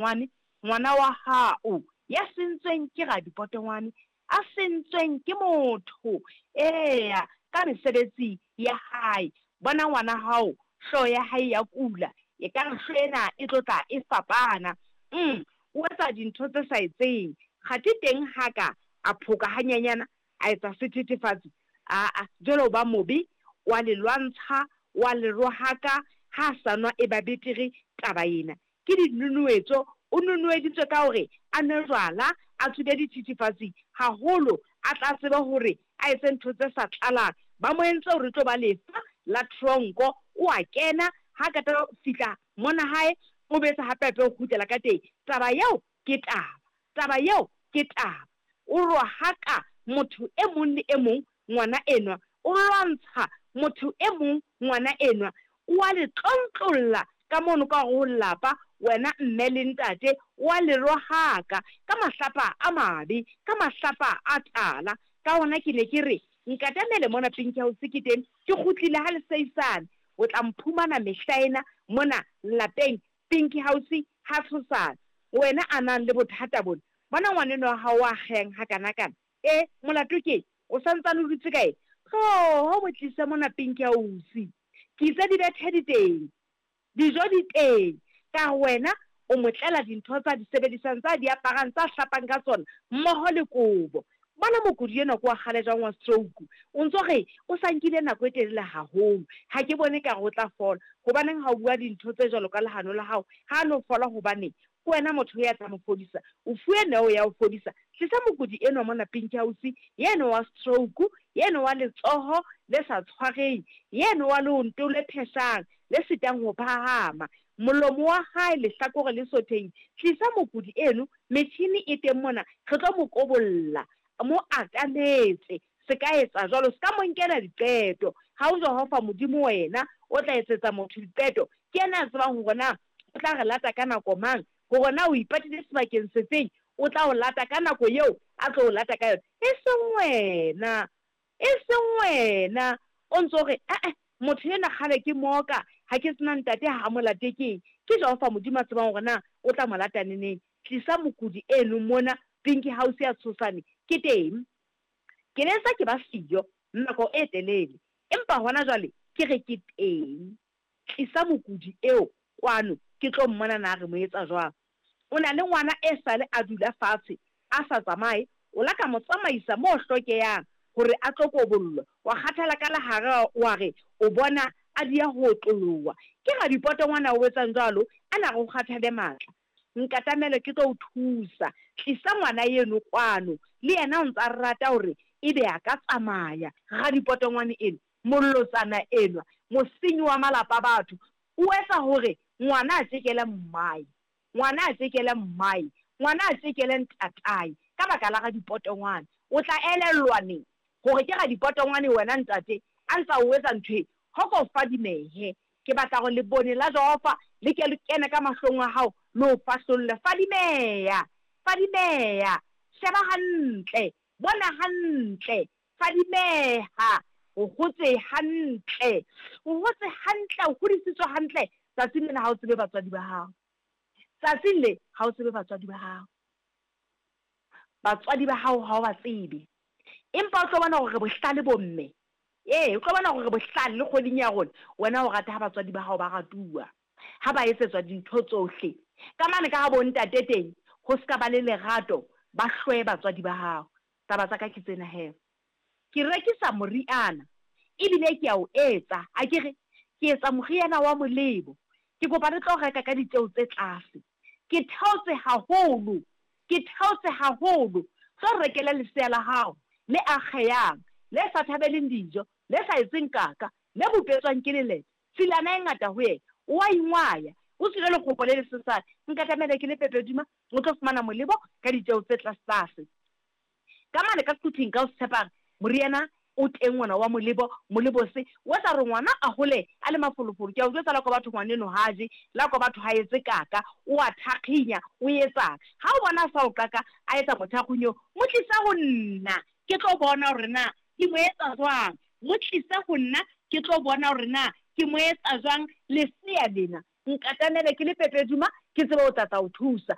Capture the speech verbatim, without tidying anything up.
Ngwane, ngwana wa hao ya sentsweng ke radipotongwane, a sentsweng ke motho, eya, ka mesebetsi ya hae. Bona ngwana hao, hlooho ya hae ya kula, ekare hlooho ena e tlo tla e fapana. Uhm, o etsa dintho tse sa etseng, kgathe teng ha ka a phoka hanyenyana, a etsa sethethefatsi, aa jwale o ba mobe, o a le lwantsha, o a le rohaka, ha a sa nwa e ba betere taba ena. Ke dinonoetso, o nonoeditswe ka hore a nwe jwala, a tsube dithethefatsi haholo, a tla tsebe hore a etse ntho tse sa tlalang. Ba mo entse hore e tlo ba lefa la tronko, o a kena, ha qeta ho fihla mona hae, o boetse hape hape o kgutlela ka teng. Taba eo ke taba, taba eo ke taba. O rohaka motho e mong le e mong ngwana enwa, o lwantsha motho e mong ngwana enwa, o a le tlontlolla ka mono ka hare ho lelapa, wena mme le ntate, o a le rohaka ka mahlapa a mabe, ka mahlapa a tala. Ka hona ke ne ke re nkatamele mona Pinky House ke teng, ke kgutlile ha le seisane, o tla mphumana mehla ena mona lapeng Pinky House ha tshosane. Wena a nang le bothata bona, bona ngwanenwa wa hao wa akgehang hakanakana, e molato keng? O sa ntsane o dutse ka eng? Tloho mo tlise mona Pinky House. Ke itse dibethe di teng, dijo di teng, ka re wena o mo tlela dintho tsa di sebedisang, tsa di aparang, tsa hlapang ka tsona, mmoho le kobo. Bona mokudi enwa ke wa kgale jwang wa stroke, o ntso re o sa nkile nako e telele haholo, ha ke bone ekare o tla fola. Hobaneng ha o bua dintho tse jwalo ka lehano la hao? Ha a no fola hobaneng? Ke wena motho ya tla mo fodisa, o fuwe neo ya ho fodisa. Tlisa mokudi enwa mona Pinky House, yeno wa stroke, yeno wa letsoho le sa tshwareng, yeno wa leonto le pheshang, le sitang ho phahama, molomo wa hae lehlakore le sothehile. Tlisa mokudi eno, metjhini e teng mona, re tlo mo kobolla. Mo atametse, se ka etsa jwalo, se ka mo nkela diqeto. Ha o Jehova Modimo wena o tla etsetsa motho diqeto, ke yena a tsebang hore na o tla re lata ka nako mang, hore na o ipatile sebakeng sefeng, o tla o lata ka nako eo a tlo o lata ka yona. E seng wena, e seng wena o ntso re, eh-eh, motho enwa kgale ke mooka, ha ke sena ntate ha a mo late keng? Ke Jehova Modimo a tsebang hore na o tla mo lata neneng. Tlisa mokudi eno mona Pinky House ya Tshosane, ke teng. Ke ne ntse ke ba siyo nako e telele, empa hona jwale ke re ke teng. Tlisa mokudi eo kwano, ke tlo mmona na re mo etsa jwang. O na le ngwana e sale a dula fatshe a sa tsamaye, o la ka mo tsamaisa mo hlokehang hore a tlo kobollwa, wa kgathala ka lehare wa re o bona a diya ho otloloha. Ke radipotongwana o etsang jwalo, a na re o kgathale matla. Nkatamele ke tlo o thusa. Tlisa ngwana eno kwano, le yena o ntsa rata hore ebe a ka tsamaya. Radipotongwane eno, molotsana enwa, mosenyi wa malapa a batho, o etsa hore ngwana a tjekele mmae, ngwana a tjekele mmae, ngwana a tjekele ntatae ka baka la radipotongwane. O tla elellwa neng hore ke radipotongwane wena ntate a ntsa o etsa ntho e? Hoko fadimehe. Ke batla hore lebone la Jehova le ke le kene ka mahlong a hao le o fahlolle. Fadimeha, fadimeha, sheba hantle, bona hantle, fadimeha, o hotse hantle, o hotse hantle, o hodisitswe hantle. Tsatsing lena ha o tsebe batswadi ba hao. Tsatsing le ha o tsebe batswadi ba hao. Batswadi ba hao ha o ba tsebe. Empa o tlo bona hore bohlale bo mme. Ee, o tlo bona hore bohlale le kgweding ya rona, wena o rata ha batswadi ba hao ba ratuwa, ha ba etsetswa dintho tsohle. Ka mane ka ha bo ntate teng, ho ska ba le lerato, ba hloye batswadi ba hao. Taba tsa ka ke tsena he. Ke rekisa moriana, ebile ke a o etsa, akere ke etsa moriana wa molebo. Ke kopa le tlo reka ka ditjeo tse tlase. Ke theotse haholo, ke theotse haholo. Tlo rekele lesea la hao le akgehang, le sa thabeleng dijo, le sa etseng kaka, le bopetswang ke lelete, tshilana e ngata ho yena, o a ingwaya, o tswile lekgopo le lesesane. Nkatamele ke le Pepeduma, o tlo fumana molebo ka ditjeo tse tlasetlase. Ka mane ka Quthing ka o tshepang, moriana o teng ona wa molebo, molebo se o etsa hore ngwana a hole a le mafolofolo. Ke a o jwetsa la kwa batho ngwaneno ha je, la kwa batho ha etse kaka, o a thakginya, o etsang. Ha o bona a sa o qaka, a etsa mothakgunyo, mo tlisa ho nna, ke tlo bona hore na ke mo etsa jwang. Mo tlise ho nna, ke tlo bona hore na ke mo etsa jwang lesea lena. Nkatamele ke le Pepeduma, ke tsebe ho tla tla o thusa.